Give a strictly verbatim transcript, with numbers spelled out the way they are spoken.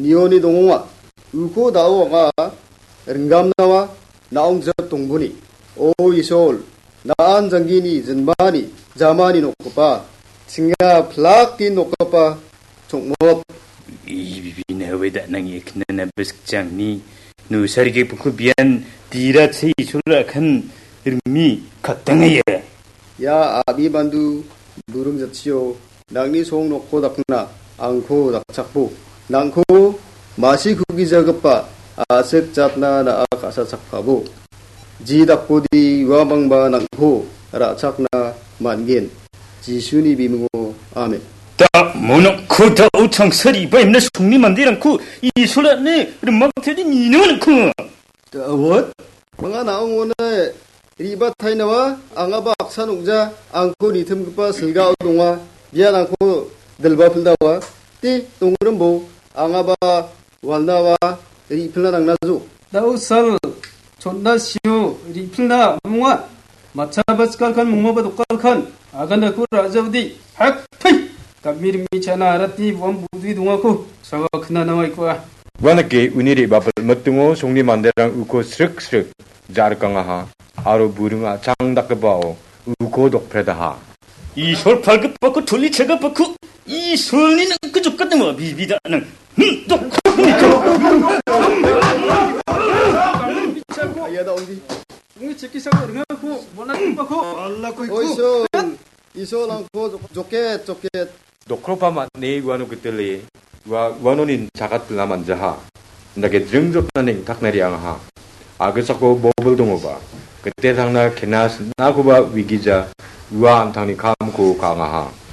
nioni dongonga. Uko da·o anga ringgamnawa na·ong jip dongboni. O Isol, na·an janggini jinmani jamani nokgipa, chinga plak tin nokgipa chongmot. I bibina we da·nangi eknana biskjangni nusarige buku bian dira che Isol akan rimi katangaya. Ia a·bi bandu buring jatchio nangni song nokko dakna angko dakchakbo. Nangko masi kugijagipa a·sik jatna na·a ka·sachakpabo. Ji dakbodi uamangba nangko ra·chakna man·gen. Jisuni bimingo. Amen. Da monokko da-o changsari ba imna songni manderangko Isolani rimakteni nino nangko. Dawot, manga na·ong one riba tainawa, angaba aksan ong·ja, angko nitimgipa silgao donga, bian angko dilba pildawa, ti dongrimbo, angaba walnawa, ripilna nangnajo. Dao sal, chotna sio, ripilna amonga, matchaba chikalkan, mongmaba dokalkan, agandako ra·jaode, hak, thai! Gami rimi chana aratni buam budui dongako, sawa knanawa ikua. Uanake uni re·bapil mitingo songni manderang uko srik srik ja·rikangaha, aro buring a·chang dakgipao uko dokpredaha. Isol palgipako toli chagapako Isolni nangko jokatnama bibida nang. Hmm, dok-, Ayada ondi. Uni chekisako ringako, bona tipako. Oi, Isol. Isol angko jok-, joket, joket. Dokropa man·e uano gitile, ua-, uanonin chakat pila manjaha. Indake jringjotna neng·takna re·angaha. Agisako bobil dongoba. Gite tangna kena sinakoba uigija, ua an·tangni kamko ka·angaha.